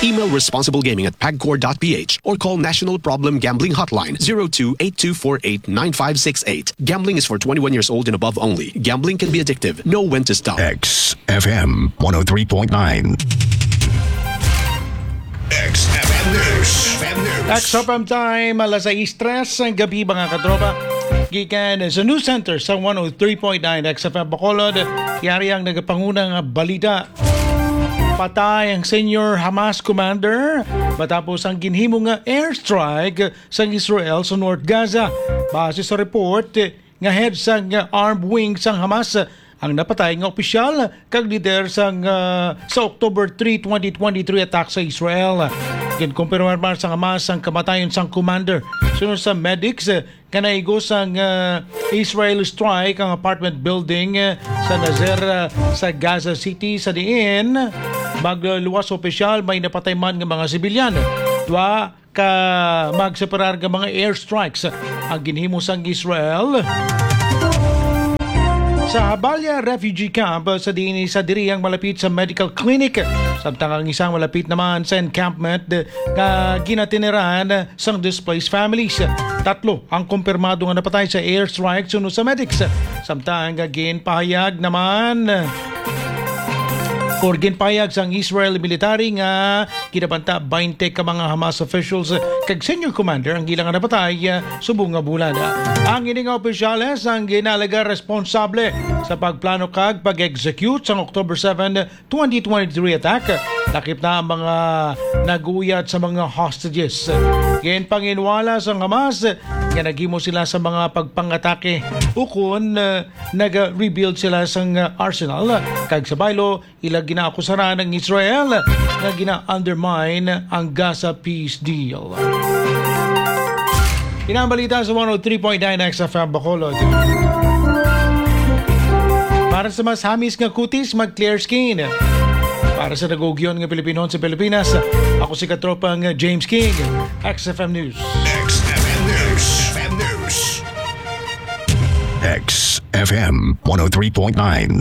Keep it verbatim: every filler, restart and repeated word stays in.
Email responsiblegaming at pagcor dot p h or call National Problem Gambling Hotline zero two eight two four eight nine five six eight. Gambling is for twenty-one years old and above only. Gambling can be addictive. Know when to stop. X F M one oh three point nine. X F M News. X F M News. X F M time, alas sais tres ang gabi, mga katropa. Gikan sa News Center sa one oh three point nine X F M Bacolod, yari ang nagapanguna nga balita. Patay ang senior Hamas commander matapos ang ginhimo nga airstrike sang Israel sa North Gaza. Base sa report, nga head sang armed wing sang Hamas ang napatay nga opisyal kag lider sang, ah, sa October three, twenty twenty-three attack sa Israel. Ginkumpirmar sang Hamas ang kamatayon sang commander. Sunod sa medics, eh, nga naigo sang, ah, Israel strike ang apartment building, eh, sa Nasser, ah, sa Gaza City, sa diin magluwas opisyal may napatay man nga mga sibilyan. Dua ka magseparar nga mga airstrikes ang ginhimo sang Israel sa Jabalia refugee camp sa diin sa diri ang malapit sa medical clinic, samtang ang isang malapit naman sa encampment nga ginatiniran sang displaced families. Tatlo ang kumpirmado nga napatay sa airstrike suno sa medics, samtang ginpahayag naman or ginpahayag sang Israel military nga kinabanta baynte ka mga Hamas officials kag senior commander ang ilang napatay, ah, subong nga bulan. Ang ini nga opisyales ang ginalaga responsable sa pagplano kag pag-execute sang October seven, twenty twenty-three attack. Lakip na ang mga naguyat sa mga hostages. Ginpanginwala sang Hamas nga naghimo sila sa mga pagpangatake ukon, ah, nag-rebuild sila sang, ah, arsenal, kag sa baylo, ila ginaakusaran ang Israel nga gina-undermine ang Gaza peace deal. Ina ang balita sa one oh three point nine X F M Bacolod. Para sa mas hamis nga kutis, mag Clear Skin. Para sa nag-ugyon nga Pilipinhon sa Pilipinas, ako si katropang James King, X F M News. X F M News. X F M News. X F M one oh three point nine.